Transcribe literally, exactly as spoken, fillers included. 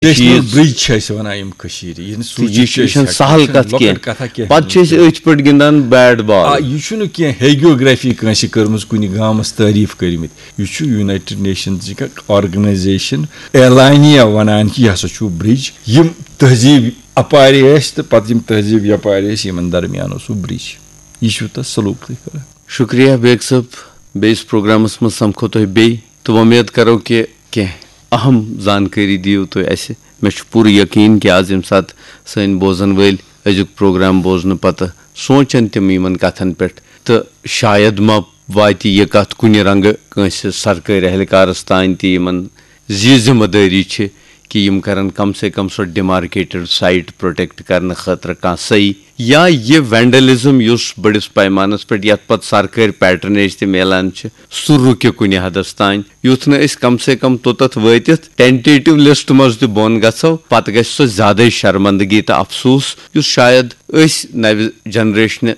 National برج چھِ أسۍ وَنان یِم کٔشیٖرِ، یہِ نہٕ سوٗنٛچِتھ یہِ چھِ، چھِ یہِ أسۍ چھَنہٕ ہٮ۪کان، سہل یہِ چھَنہٕ کَتھ لۄکٕٹ کینٛہہ۔ کَتھا کینٛہہ۔ پَتہٕ چھِ أسۍ أتھۍ پٲٹھۍ گِنٛدان بیٹ بال۔ آ، یہِ چھُنہٕ کینٛہہ ہیگیوگرافی کٲنٛسہِ کٔرمٕژ کُنہِ گامَس تعریٖف کٔرمٕتۍ۔ یہِ چھُ یونایٹڈ نیشنزٕچ اکھ آرگنایزیشن اعلانیہ وَنان کہِ یہِ ہسا چھُ برج۔ یِم تہذیٖب اَپارِ ٲسۍ تہٕ پَتہٕ یِم تہذیٖب یَپارِ ٲسۍ، یِمن درمیان اوس سُہ برج۔ یہِ چھُ تَتھ سلوک تُہۍ کران۔ شُکریہ بیگ صٲب، بیٚیِس پروگرامَس منٛز سَمکھو تۄہہِ بیٚیہِ تہٕ وۄمید کرو کہِ کینٛہہ اہم زانکٲری دِیِو تُہۍ اَسہِ۔ مےٚ چھُ پوٗرٕ یقیٖن کہِ آز ییٚمہِ ساتہٕ سٲنۍ بوزَن وٲلۍ أزیُک پروگرام بوزنہٕ پَتہٕ سونٛچَن تِم یِمَن کَتھَن پٮ۪ٹھ، تہٕ شاید ما واتہِ یہِ کَتھ کُنہِ رنٛگہٕ کٲنٛسہِ سرکٲرۍ اہلکارَس تام تہِ، یِمَن زِ ذمہٕ دٲری چھِ کہِ یِم کَرَن کم سے کم سۄ ڈیمارکیٹڈ سائٹ پروٹیکٹ کرنہٕ خٲطرٕ کانٛہہ صحیح، یا یہِ وینڈلزم یُس بٔڑِس پیمانس پٮ۪ٹھ، یتھ پتہٕ سرکٲرۍ پیٹرنیج تہِ میلان چھِ، سُہ رُکہِ کُنہِ حدس تام، یُتھ نہٕ أسۍ کم سے کم توٚتتھ وٲتِتھ ٹینٹیٹو لسٹ منٛز تہِ بۄن گژھو، پتہٕ گژھِ سۄ زیادے شرمندگی تہٕ افسوس، یُس شاید أسۍ نوِ جنریشنہِ